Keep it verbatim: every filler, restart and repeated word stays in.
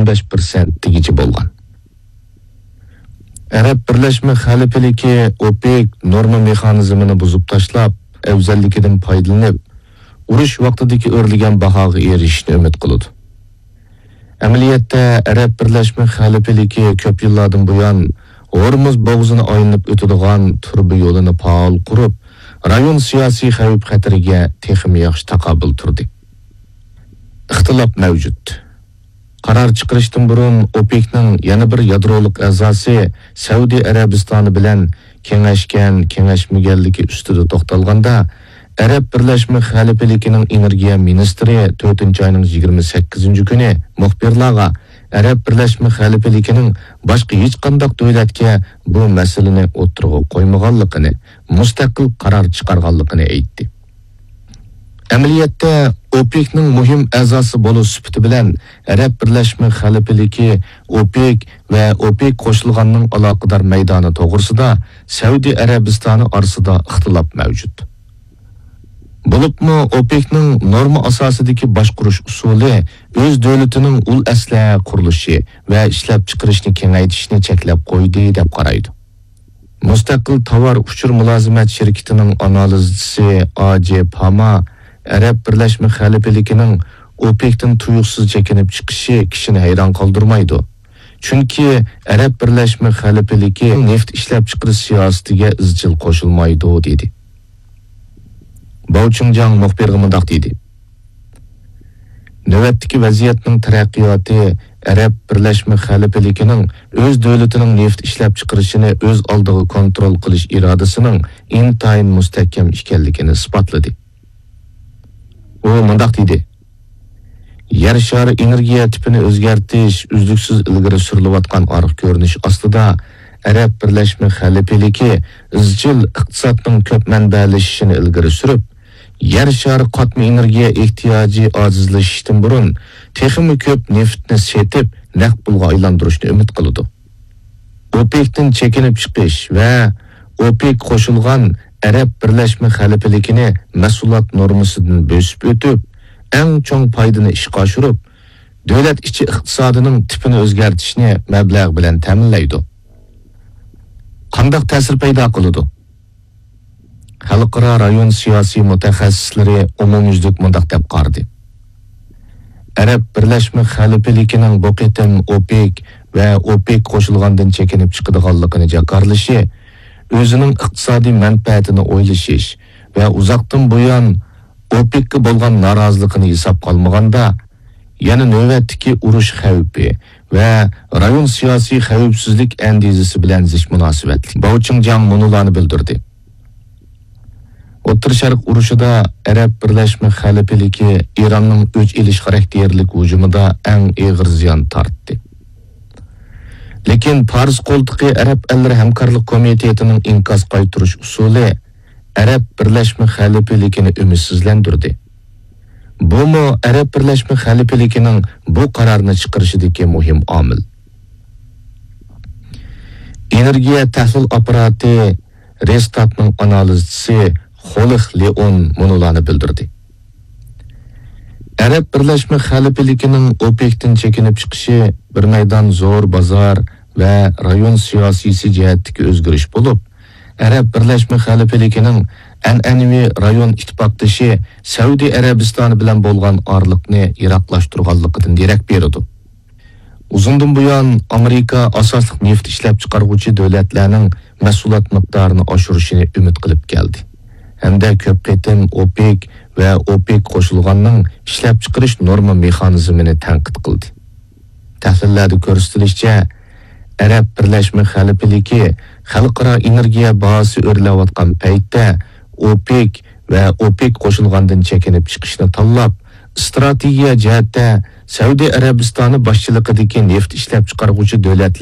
بەش پىرسەنتىگىچە بولغان. ئەرەب بىرلەشمە خەلىپىلىكى ئوپېك نورما مېخانىزمىنى بۇزۇپ تاشلاپ، ئەۋزەللىكىدىن پايدىلىنىپ، ئۇرۇش ۋاقتىدىكى ئۆرلىگەن باھاغا ئېرىشىشنى ئۈمىد قىلىدۇ. ئەمەلىيەتتە، ئەرەب بىرلەشمە خەلىپىلىكى كۆپ يىللاردىن بۇيان ھورمۇز بوغۇزىنى ئايلىنىپ ئۆتىدىغان تۇرۇبا يولىنى پائال قۇرۇپ، رايون سىياسىي خەۋپ-خەتىرىگە تېخىمۇ ياخشى تاقابىل تۇردى. ئىختىلاپ مەۋجۇت. قارار چىقىرىشتىن بۇرۇن ئوپېكنىڭ يەنە بىر يادرولۇق ئەزاسى سەئۇدى ئەرەبىستانى بىلەن كېڭەشكەن، كېڭەشمىگەنلىكى ئۈستىدە توختالغاندا، ئەرەب بىرلەشمە خەلىپىلىكىنىڭ ئېنېرگىيە مىنىستىرى تۆتىنچى ئاينىڭ يىگىرمە سەككىزىنچى كۈنى مۇخبىرلارغا ئەرەب بىرلەشمە خەلىپىلىكىنىڭ باشقا ھېچقانداق دۆلەتكە بۇ مەسىلىنى ئوتتۇرىغا قويمىغانلىقىنى، مۇستەقىل قارار چىقارغانلىقىنى ئېيتتى. ئەمەلىيەتتە، ئوپېكنىڭ مۇھىم ئەزاسى بولۇش سۈپىتى بىلەن ئەرەب بىرلەشمە خەلىپىلىكى، ئوپېك ۋە ئوپېك قوشۇلغاننىڭ ئالاقىدار مەيدانى توغرىسىدا سەئۇدى ئەرەبىستانى ئارىسىدا ئىختىلاپ مەۋجۇت. بولۇپمۇ ئوپېكنىڭ نورما ئاساسىدىكى باشقۇرۇش ئۇسۇلى ئۆز دۆلىتىنىڭ ئۇل ئەسلىھە قۇرۇلۇشى ۋە ئىشلەپچىقىرىشنى كېڭەيتىشنى چەكلەپ قويدى، دەپ قارايدۇ. مۇستەقىل تاۋار ئۇچۇر مۇلازىمەت شىركىتىنىڭ ئانالىزچىسى ئاجې پاما ئەرەب بىرلەشمە خەلىپىلىكىنىڭ ئوپېكتىن تۇيۇقسىز چېكىنىپ چىقىشى كىشىنى ھەيران قالدۇرمايدۇ. چۈنكى ئەرەب بىرلەشمە خەلىپىلىكى نېفىت ئىشلەپچىقىرىش سىياسىتىگە ئىزچىل قوشۇلمايدۇ، دېدى. باۋ چىڭجاڭ مۇخبىرغا مۇنداق دېدى: نۆۋەتتىكى ۋەزىيەتنىڭ تەرەققىياتى ئەرەب بىرلەشمە خەلىپىلىكىنىڭ ئۆز دۆلىتىنىڭ نېفىت ئىشلەپچىقىرىشىنى ئۆز ئالدىغا كونترول قىلىش ئىرادىسىنىڭ ئىنتايىن مۇستەھكەم ئىكەنلىكىنى ئىسپاتلىدى. ئۇ مۇنداق دېدى: يەر شارى ئېنېرگىيە تىپىنى ئۆزگەرتىش ئۈزلۈكسىز ئىلگىرى سۈرۈلۈۋاتقان ئارقا كۆرۈنۈش ئاستىدا، ئەرەب بىرلەشمە خەلىپىلىكى ئىزچىل ئىقتىسادنىڭ كۆپ مەنبەلىشىشىنى ئىلگىرى سۈرۈپ، يەر شارى قاتما ئېنېرگىيە ئېھتىياجى ئاجىزلىشىشتىن بۇرۇن تېخىمۇ كۆپ نېفىتنى سېتىپ، نەق پۇلغا ئايلاندۇرۇشنى ئۈمىد قىلىدۇ. ئوپېكتىن چېكىنىپ چىقىش ۋە ئوپېك قوشۇلغان ئەرەب بىرلەشمە خەلىپىلىكىنى مەھسۇلات نورمىسىدىن بۆسۈپ ئۆتۈپ، ئەڭ چوڭ پايدىنى ئىشقا ئاشۇرۇپ، دۆلەت ئىچى ئىقتىسادىنىڭ تىپىنى ئۆزگەرتىشنى مەبلەغ بىلەن تەمىنلەيدۇ. قانداق تەسىر پەيدا قىلىدۇ؟ خەلقئارا رايون سىياسىي مۇتەخەسسىسلىرى ئومۇميۈزلۈك مۇنداق دەپ قارىدى: ئەرەب بىرلەشمە خەلىپىلىكىنىڭ بۇ قېتىم ئوپېك ۋە ئوپېك قوشۇلغاندىن چېكىنىپ چىقىدىغانلىقىنى جاكارلىشى ئۆزىنىڭ ئىقتىسادىي مەنپەئەتىنى ئويلىشىش ۋە ئۇزاقتىن بۇيان ئوپېككە بولغان نارازىلىقىنى ھېسابقا ئالمىغاندا، يەنە نۆۋەتتىكى ئۇرۇش خەۋپى ۋە رايون سىياسىي خەۋپسىزلىك ئەندىزىسى بىلەن زىچ مۇناسىۋەتلىك. باۋ چىڭجاڭ مۇنۇلارنى بىلدۈردى: ئوتتۇرا شەرق ئۇرۇشىدا ئەرەب بىرلەشمە خەلىپىلىكى ئىراننىڭ ئۆچ ئېلىش خاراكتېرلىك ھۇجۇمىدا ئەڭ ئېغىر زىيان تارتتى. لېكىن پارس قولتۇقى ئەرەب ئەللىرى ھەمكارلىق كومىتېتىنىڭ ئىنكاس قايتۇرۇش ئۇسۇلى ئەرەب بىرلەشمە خەلىپىلىكىنى ئۈمىدسىزلەندۈردى. بۇمۇ ئەرەب بىرلەشمە خەلىپىلىكىنىڭ بۇ قارارنى چىقىرىشىدىكى مۇھىم ئامىل. ئېنېرگىيە تەھلىل ئاپپاراتى رېستاتنىڭ ئانالىزچىسى خولىخ لېئون مۇنۇلارنى بىلدۈردى: ئەرەب بىرلەشمە خەلىپىلىكىنىڭ ئوپېكتىن چېكىنىپ چىقىشى بىر مەيدان زور بازار ۋە رايون سىياسىيسى جەھەتتىكى ئۆزگىرىش بولۇپ، ئەرەب بىرلەشمە خەلىپىلىكىنىڭ ئەنئەنىۋى رايون ئىتتىپاقدىشى سەئۇدى ئەرەبىستانى بىلەن بولغان ئارىلىقنى يىراقلاشتۇرغانلىقىدىن دېرەك بېرىدۇ. ئۇزۇندىن بۇيان ئامېرىكا ئاساسلىق نېفىت ئىشلەپچىقارغۇچى دۆلەتلەرنىڭ مەھسۇلات مىقدارىنى ئاشۇرۇشىنى ئۈمىد قىلىپ كەلدى ھەمدە كۆپ قېتىم ئوپېك ۋە ئوپېك قوشۇلغاننىڭ ئىشلەپچىقىرىش نورما مېخانىزمىنى تەنقىد قىلدى. تەھلىللەردە كۆرسىتىلىشىچە، ئەرەب بىرلەشمە خەلىپىلىكى خەلقئارا ئېنېرگىيە باھاسى ئۆرلەۋاتقان پەيتتە ئوپېك ۋە ئوپېك قوشۇلغاندىن چېكىنىپ چىقىشنى تاللاپ، ئىستراتېگىيە جەھەتتە سەئۇدى ئەرەبىستانى باشچىلىقىدىكى نېفىت ئىشلەپچىقارغۇچى دۆلەتلەر